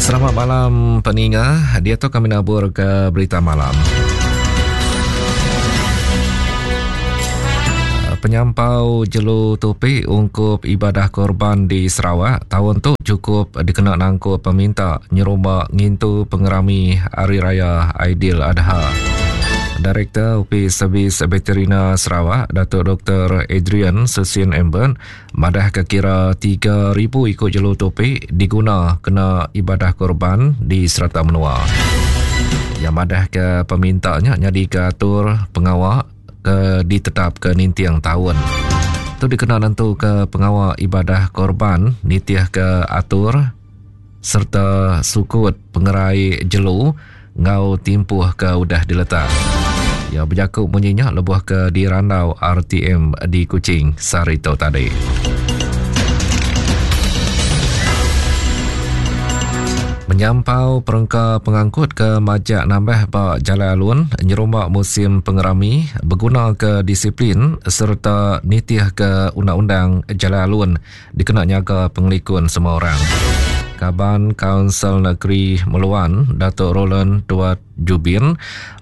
Selamat malam peninga. Dia tu kami nabur ke berita malam. Penyampau jelu tupi ungkup ibadah korban di Sarawak tahun tu cukup dikena nangkup peminta nyerumba ngintu pengerami Hari Raya Aidil Adha. Direktor Opis Servis Veterina Sarawak, Datuk Dr. Adrian Susin Emben, Madahka kira 3,000 iku jelu tupi diguna kena ibadah korban di serata menua. Iya madahka peminta nya nyadika atur pengawa ke ditetapka ninting taun. Tu dikena nentuka pengawa ibadah korban nitihka atur sereta sukut pengerai jelu enggau timpuh ke udah diletak. Iya bejaku munyi nya lebuh ke dirandau RTM di Kuching sehari tu tadi. Menyampau perengka pengangkut ke majak nambah ba jalai alun nyerumba musim pengerami beguna ke disiplin sereta nitih ke undang-undang jalai alun dikena nyaga pengelikun semua orang. Kaban Kaunsil Negeri Meluan, Datuk Roland Tuat Jubin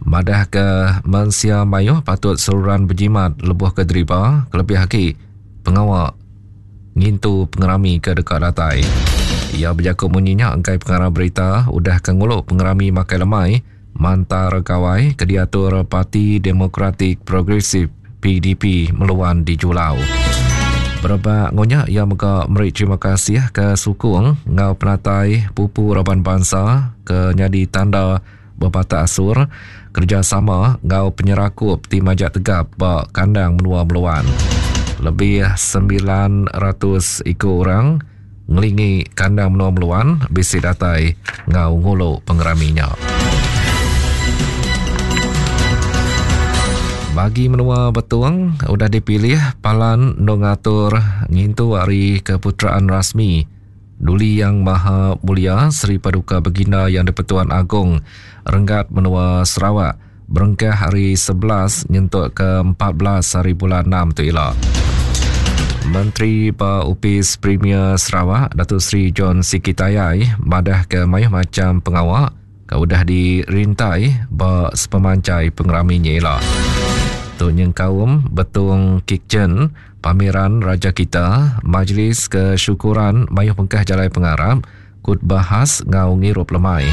madahka mensia mayuh patut seruran bejimat lebuh ke deriba kelebih agi pengawa ngintu pengerami ke deka datai. Iya bejaku munyi nya enggai pengarang berita udah ke ngulu pengerami makai lemai Mantar Gawai ke diatur Parti Demokratik Progresif, PDP, Meluan di Julau. Berebak enggau nya, iya mega meri terima kasih ke sukung enggau penatai pupu raban bansa ke nyadi tanda bebatak asur, kerejasama enggau penyerakup ti majak tegap ba kandang menua Meluan. Lebih 900 iku orang ngelingi kandang menua Meluan bisi datai enggau ngulu pengerami nya. Bagi menua Betong udah dipilih palan endur ngatur ngintu Hari Keputeraan Rasmi Duli Yang Maha Mulia Seri Paduka Baginda Yang di-Pertuan Agong renggat menua Sarawak berengkah hari 11 nyentuk ke 14 hari bulan 6 tu ila. Menteri ba Opis Premier Sarawak, Datuk Seri John Sikie Tayai madah ke mayuh macham pengawa ke udah dirintai ba sepemanjai pengerami nya ila. Tu nyengkaum Betong Kitchen, Pameran Raja Kita, Majlis Kesyukuran Mayuh Bengkah Jalai Pengarap, Khutbah khas enggau ngirup lemai.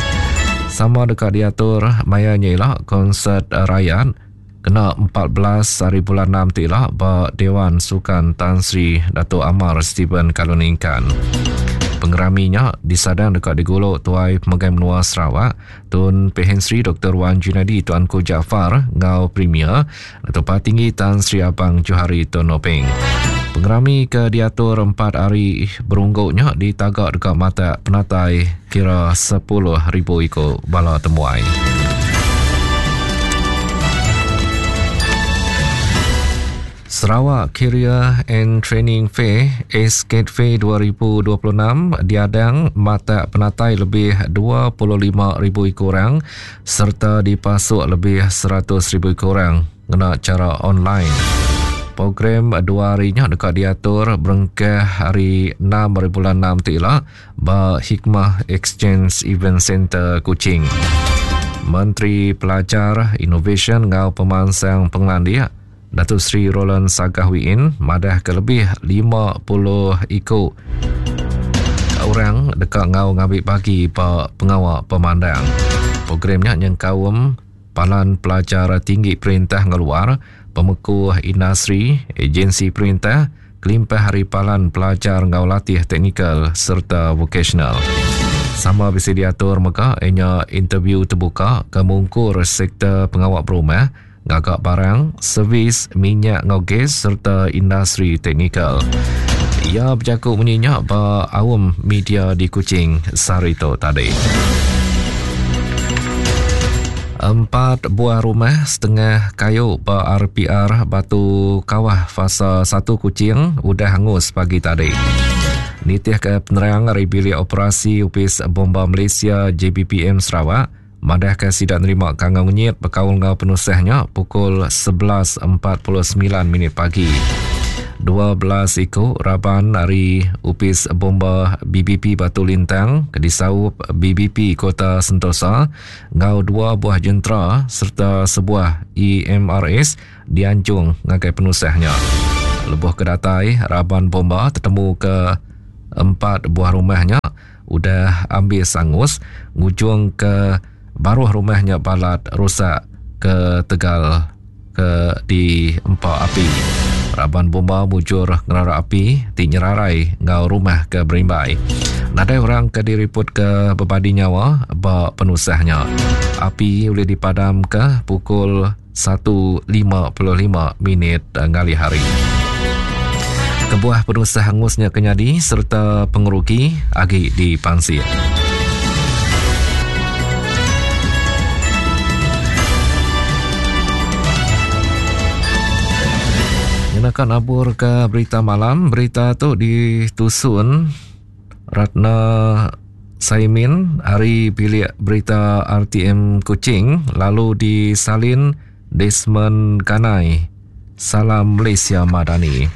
Sama deka diatur maya nya ila konsert rayat kena 14 hari bulan 6 tu ila ba Dewan Sukan Tan Sri Datuk Amar Stephen Kalun Ningkan. Pengerami nya disadang deka digulu Tuai Pemegai Menua Sarawak, Tun Pehin Sri Dr. Wan Junaidi Tuanku Jaafar enggau Premier Datuk Patinggi Tan Sri Abang Johari Tun Openg. Pengerami ke diatur empat hari berunggu nya ditaga deka matak penatai kira 10,000 iku bala temuai. Sarawak Career and Training Fair SCATFE 2026 diadang matak penatai lebih 25,000 iku orang sereta dipasuk lebih 100,000 iku orang ngena chara online. Program dua hari nya deka diatur berengkah hari 6 hari bulan 6 tu ila ba Hikmah Exchange Event Centre Kuching. Menteri Pelajar, Inovasyen enggau Pemansang Pengelandik, Datuk Seri Roland Sagah Wiin madahka lebih 50 iku orang deka enggau ngambi bagi ba pengawa pemandang. Program nya nyengkaum palan pelajar tinggi perintah enggau luar, pemekuh industri, agensi perintah, kelimpah ari palan pelajar enggau latih teknikal sereta vokasional. Sama bisi diatur mega iya nya interview tebuka ke mungkur sektor pengawa berumah, ngaga barang, servis, minyak enggau gas sereta industri teknikal. Iya bejaku munyi nya ba aum media di Kuching sehari tu tadi. Empat buah rumah setengah kayu ba RPR Batu Kawah Fasa 1 Kuching udah angus pagi tadi. Nitihka penerang ari Bilik Operasi Opis Bomba Malaysia JBPM Sarawak, madahka sida nerima kangau ngenyit bekaul enggau penusah nya pukul 11.49 minit pagi. 12 iku raban ari Opis Bomba BBP Batu Lintang ke disaup BBP Kota Sentosa enggau dua buah jentera sereta sebuah EMRS dianjung ngagai penusah nya. Lebuh ke datai, raban bomba tetemuka empat buah rumah nya udah ambis angus ngujungka baruh rumah nya balat rusak ketegal ke diempa api. Raban bomba mujur ngerara api ti nyerarai enggau rumah ke berimbai. Nadai orang ke diripotka bebadi nyawa ba penusah nya. Api ulih dipadamka pukul 1.55 minit ngalih hari. Kebuah penusah angus nya ke nyadi sereta pengerugi agi dipansik. Nyenaka nabur ke berita malam, berita tu ditusun Ratna Saimin ari bilik berita RTM Kuching lalu disalin Desmond Ganai. Salam Malaysia Madani.